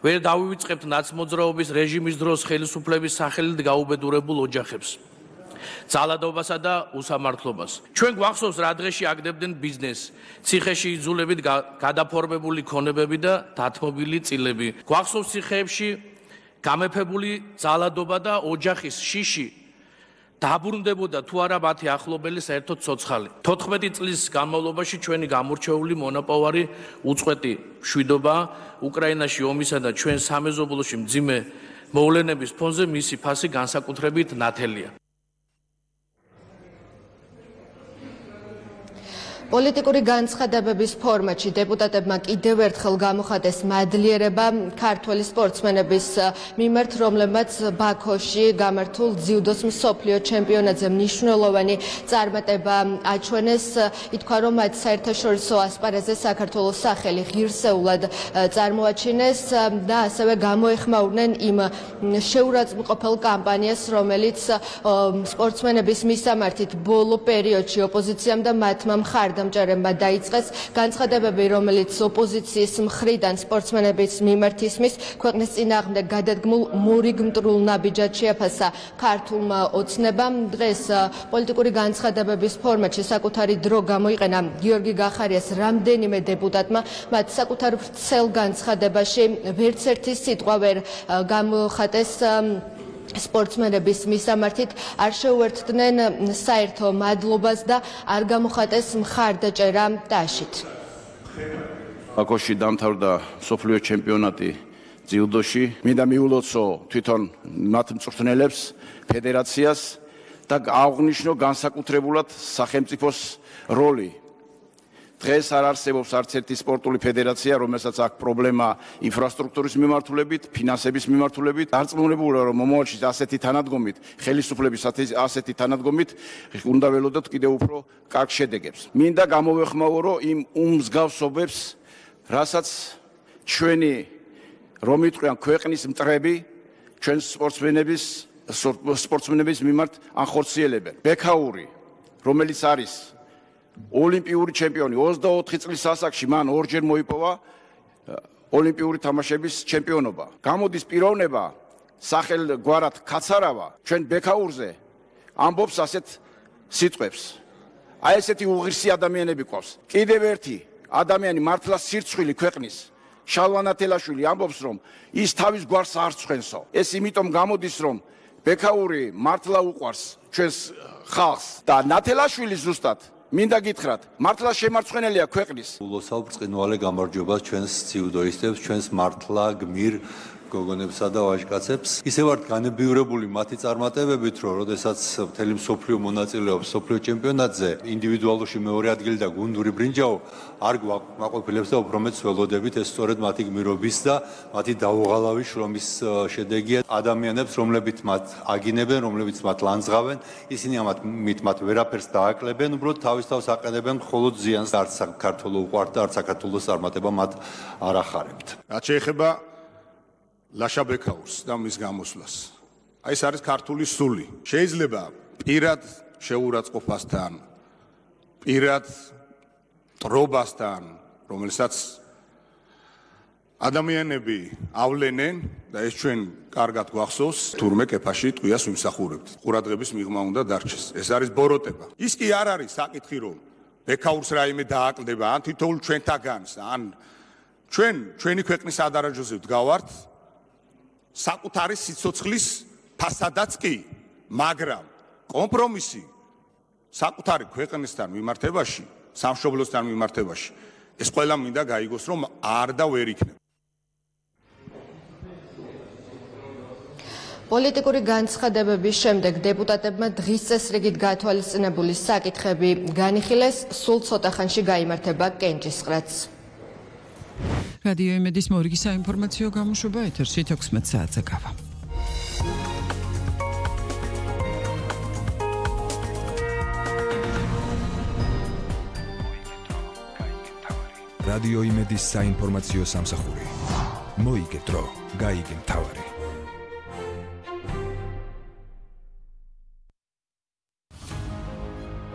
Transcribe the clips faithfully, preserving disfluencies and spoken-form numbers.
ვერ დავივიწყებთ ნაცმოძრაობის რეჟიმის დროს ხელისუფლების სახელით გაუბედურებულ ოჯახებს, ძალადობასა და უსამართლობას. ჩვენ გვახსოვს რა დღეში აგდებდნენ ბიზნესს, ციხეში იძულებით გადაფორმებული ქონებები და დათმობილი წილები. გვახსოვს ციხეებში გამეფებული ძალადობა და ოჯახის შიში დაბრუნდებოდა თუ არა მათი ახლობელი საერთოდ ცოცხალი. თოთხმეტი წლის განმავლობაში ჩვენი გამორჩეული მონაპოვარი უწყვეტი მშვიდობა უკრაინაში ომისა და ჩვენ სამეზობლოში მძიმე მოვლენების ფონზე მისი ფასი განსაკუთრებით ნათელია. პოლიტიკური განცხადებების ფორმატში დეპუტატებმა კიდევ ერთხელ გამოხატეს მადლიერება ქართველი სპორტსმენების მიმართ, რომლებმაც ბაქოში გამართულ ძიუდოს მსოფლიო ჩემპიონატზე მნიშვნელოვანი წარმატება აჩვენეს. ითქვა, რომ მათ საერთაშორისო ასპარეზზე საქართველოს სახელი ღირსეულად წარმოაჩინეს და ასევე გამოეხმაურნენ იმ შეურაცხმყოფელ კამპანიას, რომელიც სპორტსმენების მისამართით ბოლო პერიოდში ოპოზიციამ და მათმა მხარდამჭერებმა დაიწყეს. განცხადებები, რომელიც ოპოზიციის მხრიდან სპორტსმენების მიმართ ისმის, ქვეყნის წინააღმდეგ გადადგმულ მორიგ მტრულ ნაბიჯად შეაფასა ქართულმა ოცნებამ. დღეს პოლიტიკური განცხადებების ფორმატში საკუთარი დრო გამოიყენა გიორგი გახარიას რამდენიმე დეპუტატმა. მათ საკუთარ ვრცელ განცხადებაში ვერც ერთი სიტყვა ვერ გამოხატეს სპორტსმენების მისამართით, არ შეუერთდნენ საერთო მადლობას და არ გამოხატეს მხარდაჭერა დაშით. ბაქოში დამთავრდა მსოფლიო ჩემპიონატი ძიუდოში. მინდა მიულოცო თვითონ მათ მწვრთნელებს, ფედერაციას და აღნიშნო განსაკუთრებულად სახელმწიფოს როლი. დღეს არ არსებობს არც ერთი სპორტული ფედერაცია, რომელსაც აქვს პრობლემა ინფრასტრუქტურის მიმართულებით, ფინანსების მიმართულებით. დარწმუნებულია, რომ მომავალში ასეთი თანადგომით, ხელისუფლების ასეთი თანადგომით უნდა ველოდოთ კიდევ უფრო კარგ შედეგებს. მინდა გამოვეხმაურო იმ უმსგავსობებს, რასაც ჩვენი რომ იტყვიან ქვეყნის მტრები, ჩვენ სპორტსმენების სპორტსმენების მიმართ ანხორციელებენ. ბექაური, რომელიც არის ოლიმპიური ჩემპიონი, ოცდაოთხი წლის ასაკში მან ორჯერ მოიპოვა ოლიმპიური თამაშების ჩემპიონობა. გამოდის პიროვნება სახელგვარად კაცარავა ჩვენ ბექაურზე ამბობს ასეთ სიტყვებს. აი ესეთი უღირსი ადამიანები ყავს. კიდევ ერთი ადამიანი მართლა სირცხვილი ქვეყნის შალვა ნათელაშვილი ამბობს, რომ ის თავის გვარს არ ცხენსო. ეს იმიტომ გამოდის, რომ ბექაური მართლა უყვარს ჩვენს ხალხს და ნათელაშვილი ზუსტად მინდა გითხრათ, მართლა შემარცხვენელია ქვეყნის. ულოცავ ბრწყინვალე გამარჯვებას ჩვენს ძიუდოისტებს, ჩვენს მართლა გმირ გოგონებსა და ვაჟკაცებს. ისე ვართ განებიურებული მათი წარმატებებით, რომ როდესაც მთელი მსოფლიო მონაწილეობს მსოფლიო ჩემპიონატზე, ინდივიდუალურში მეორე ადგილი და გუნდური ბრინჯაო არ გვაყოფილებს და უფრო მეც ველოდებით, ეს სწორედ მათი გმირობის და მათი დაუღალავი შრომის შედეგია. ადამიანებს, რომლებიც მათ აგინებენ, რომლებიც მათ ლანძღავენ, ისინი ამათ მით მათ ვერაფერს დააკლებენ, უბრალოდ თავის თავს აყენებენ მხოლოდ ზიანს. არც საქართველოს უყვართ და არც საქართველოს წარმატება მათ არ ახარებთ. რაც შეეხება ლაშა ბექაურს და მის გამოსვლას. აი ეს არის ქართული სული. შეიძლება პირად შეურაცხყოფასთან, პირად ტრობასთან, რომელსაც ადამიანები ავლენენ და ეს ჩვენ კარგად გვახსოვს, თურმე კეფაში ტყვიას ვიმსახურებთ. ყურადღების მიღმა უნდა დარჩეს. ეს არის ბოროტება. ის კი არ არის საკითხი, რომ ბექაურს რაიმე დააკლდება, ან თითოეულ ჩვენთაგანს, ან ჩვენ ჩვენი ქვეყნის ადარაჯოზე ვდგავართ საკუთარი სიცოცხლის ფასადაც კი, მაგრამ კომპრომისი საკუთარი ქვეყნისთან მიმართებაში, სამშობლოსთან მიმართებაში, ეს ყველა მინდა გაიგოს, რომ არ და ვერ იქნება. პოლიტიკური განცხადებების შემდეგ დეპუტატებმა დღის წესრიგით გათვალისწინებული საკითხები განიხილეს, სულ ცოტა ხანში გაიმართება კენჭისყრაც. რადიო იმედის მორიგი საინფორმაციო გამოშვება ეთერში თექვსმეტ საათზე გავა. რადიო იმედის საინფორმაციო სამსახური. მოიგეთ დრო, გაიგე მთავარი.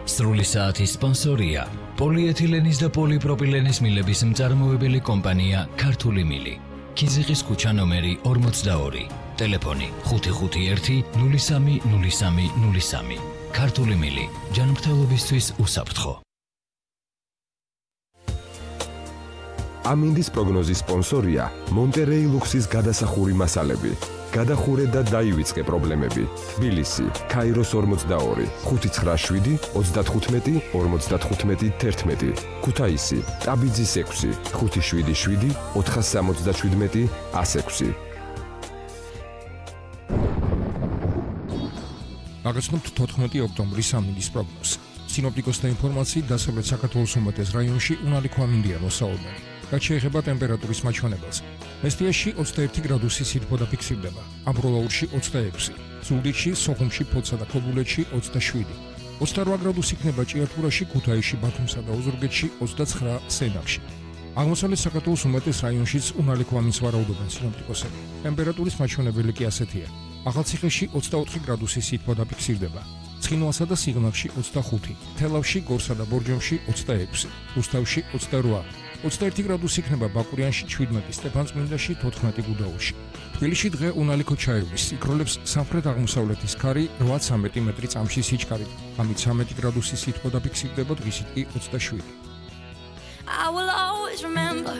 სრული საათის სპონსორია პოლიეთილენის და პოლიპროპილენის მილების მწარმოებელი კომპანია ქართული მილი. ქიზიყის ქუჩა ნომერი ორმოცდაორი. ტელეფონი ხუთი ხუთი ერთი ნული სამი ნული სამი ნული სამი. ქართული მილი ჯანმრთელობისთვის უსაფრთხო. ამინდის პროგნოზის სპონსორია მონტერეი ლუქსის გადასახური მასალები. გადახურე და დაივიწყე პრობლემები. თბილისი, ქაიროს ორმოცდაორი, ხუთი ცხრა შვიდი ოცდათხუთმეტი ორმოცდათხუთმეტი თერთმეტი. ქუთაისი, ტაბიძის ექვსი, ხუთი შვიდი შვიდი ოთხასამოცდაშვიდმეტი ასექვსი. აღესრულებთ თოთხმეტი ოქტომბრის ამინდის პროგნოზს. სინოპტიკოსთა ინფორმაციით, დასავლეთ საქართველოს უმეტეს რაიონში უნალიქო ამინდია მოსაუბნელი. რაც შეეხება ტემპერატურის მაჩვენებელს. მესტიაში ოცდაერთი გრადუსი სითბო დაფიქსირდება, ამბროლაურში ოცდაექვსი, ზუგდიდში, სოხუმში, ფოთსა და ქობულეთში ოცდაშვიდი, ოცდარვა გრადუსი იქნება ჭიათურაში, ქუთაისში, ბათუმსა და ოზურგეთში, ოცდაცხრა სენაკში. აღმოსავლეთ საქართველოს უმეტეს რაიონშიც უნალიქო ამინდს ვარაუდობენ სინოპტიკოსები. ტემპერატურის მაჩვენებელი კი ასეთია. ახალციხეში ოცდაოთხი გრადუსი სითბო დაფიქსირდება, ცხინვალსა და სიღნაღში ოცდახუთი, თელავში, გორსა და ბორჯომში ოცდაექვსი, რუსთავში ოცდარვა, ოცდაერთი გრადუსი იქნება ბაკურიანში, შვიდმეტი, სტეფანწმინდაში, თოთხმეტი გუდაუთში. თბილისში დღე უნალიქო ჩაივლის, იქროლებს სამხრეთ-აღმოსავლეთის ქარი რვა-ცამეტი მეტრი წამში სიჩქარით, ამით ცამეტი გრადუსი სითბო დაფიქსირდება, დღისით კი ოცდაშვიდი. I will always remember